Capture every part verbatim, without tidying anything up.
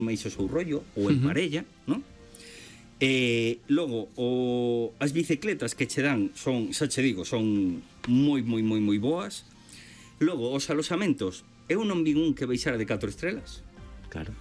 máis o seu rollo, ou en uh -huh. parella, non? E logo, o, as bicicletas que che dan son, xa che digo, son moi, moi, moi, moi boas. Logo, os alosamentos, eu non vi un que baixara de catro estrelas. Claro.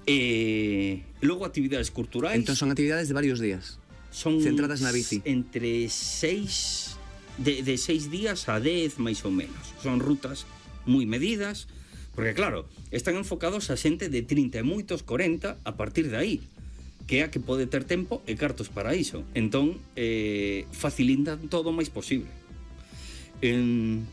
E logo, actividades culturais. Entón son actividades de varios días, son centradas na bici. Entre seis, de, de seis días a dez, máis ou menos. Son rutas moi medidas, porque claro, están enfocados a xente de trinta e moitos, corenta, a partir de aí, que é a que pode ter tempo e cartos para iso. Entón, eh, facilitan todo o máis posible. En...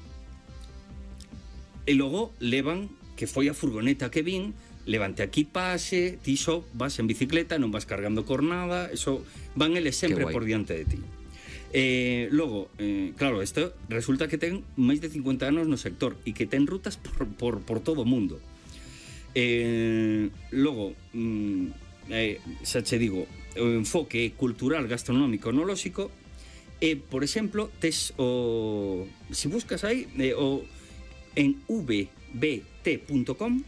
E logo levan, que foi a furgoneta que vin, levante aquí pase, ti só vas en bicicleta, non vas cargando con nada, eso van eles sempre por diante de ti. Eh, logo, eh, claro, isto resulta que ten máis de cincuenta anos no sector e que ten rutas por, por, por todo o mundo. Eh, logo, mm, eh, xa che digo, o enfoque cultural, gastronómico, enolóxico, e, por exemplo, tes o... Se buscas aí, eh, o, en v b t punto com,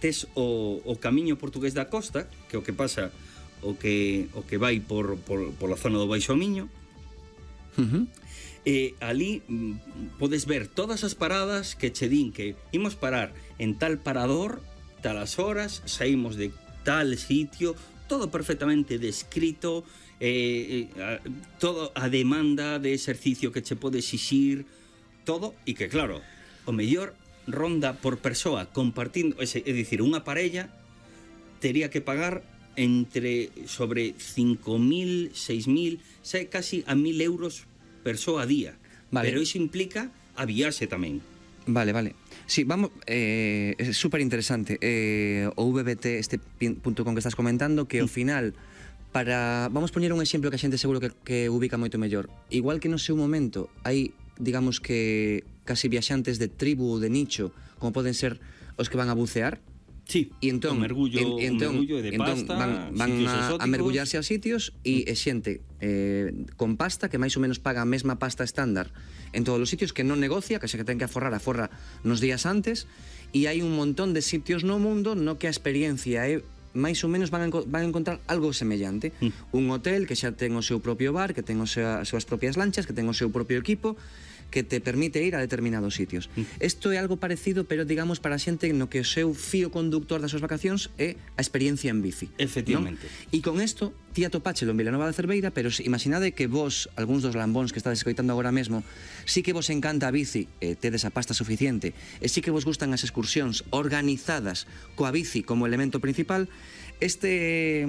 tes o, o camiño portugués da costa, que é o que pasa... o que o que vai por, por, por la zona do Baixo Miño. Uh -huh. E ali mm, podes ver todas as paradas que che din que imos parar en tal parador, talas horas, saímos de tal sitio, todo perfectamente descrito, eh, eh, todo a demanda de exercicio que che pode exixir, todo, e que claro, o mellor ronda por persoa compartindo, é dicir, unha parella tería que pagar entre sobre cinco mil, seis mil, sei, casi a mil euros persoa a día. Vale. Pero iso implica a viaxe tamén. Vale, vale. Sí, vamos, eh, é super interesante. Eh, o V B T, este punto com que estás comentando, que ao final, para, vamos poñer un exemplo que a xente seguro que, que ubica moito mellor. Igual que no seu momento hai, digamos que, casi viaxantes de tribu ou de nicho, como poden ser os que van a bucear. Sí, e entón, un mergullo, en, entón, un mergullo de entón pasta, van, van a, a mergullarse a sitios e é xente eh, con pasta que máis ou menos paga a mesma pasta estándar en todos os sitios, que non negocia, que xa que ten que aforrar, aforra nos días antes, e hai un montón de sitios no mundo no que a experiencia é máis ou menos van a, van a encontrar algo semellante. Mm. Un hotel que xa ten o seu propio bar, que ten o seu, as súas propias lanchas, que ten o seu propio equipo, que te permite ir a determinados sitios. Isto é algo parecido, pero digamos para a xente no que o seu fío conductor das súas vacacións é a experiencia en bici. Efectivamente. ¿No? E con isto, ti atopáchelo en Vilanova da Cerveira, pero imaginade que vos, algúns dos lambóns que estades escoitando agora mesmo, sí que vos encanta a bici, eh, tedes a pasta suficiente, e sí que vos gustan as excursións organizadas coa bici como elemento principal. Este,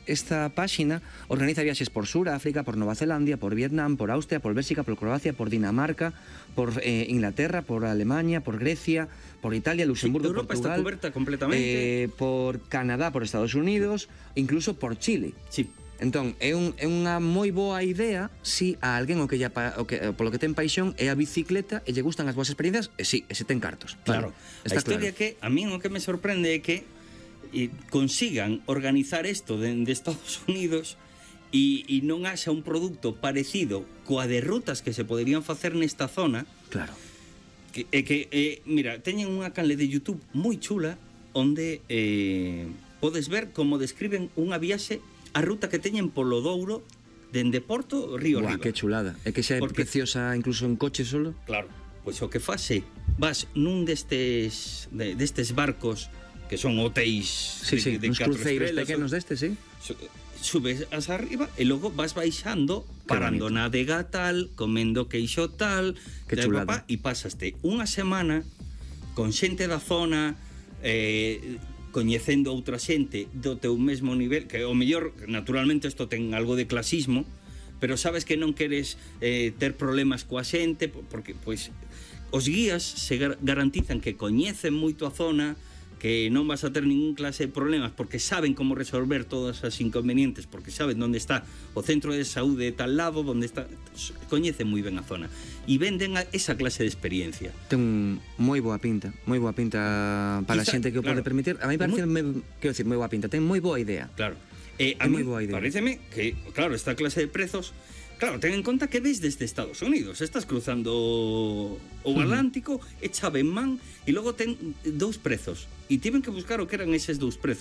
esta páxina organiza viaxes por Suráfrica, por Nova Zelandia, por Vietnam, por Austria, por Bélxica, por Croacia, por Dinamarca, por eh, Inglaterra, por Alemania, por Grecia, por Italia, Luxemburgo, sí, Europa Portugal, está coberta completamente. Eh, por Canadá, por Estados Unidos, incluso por Chile. Sí. Entón, é, un, é unha moi boa idea si a alguén o que, ya, o que polo que ten paixón é a bicicleta e lle gustan as boas experiencias, e si, e se ten cartos. Claro. Vale. A historia claro. Que a mí o que me sorprende é que e consigan organizar isto dende de Estados Unidos e, e non haxa un produto parecido coa de rutas que se poderían facer nesta zona. Claro. Que, e que, eh, mira, teñen unha canle de YouTube moi chula onde eh, podes ver como describen unha viaxe, a ruta que teñen polo Douro dende Porto, Río Arriba. Que chulada. É que xa é porque, preciosa incluso en coche solo. Claro, pois o que fase, vas nun destes de, destes barcos que son hotéis, sí, sí, de, de catro cruceiros estrelas, pequenos destes, sí. Subes as arriba e logo vas baixando, parando na adega tal, comendo queixo tal, que chulada. E pasaste unha semana con xente da zona, eh, coñecendo outra xente do teu mesmo nivel, que o mellor, naturalmente isto ten algo de clasismo, pero sabes que non queres eh, ter problemas coa xente, porque pois os guías se gar garantizan que coñecen moito a zona, que non vas a ter ningún clase de problemas porque saben como resolver todas as inconvenientes, porque saben onde está o centro de saúde de tal lado, onde está, coñecen moi ben a zona e venden a esa clase de experiencia. Ten moi boa pinta, moi boa pinta para Quizá, a xente que o claro, pode permitir. A mí parece, moi... quero dicir, moi boa pinta, ten moi boa idea. Claro. Eh, a mí pareceme que, claro, esta clase de prezos, claro, ten en conta que ves desde Estados Unidos, estás cruzando o Atlántico, uh -huh. e chave en man, e logo ten dous prezos, e tiven que buscar o que eran eses dous prezos.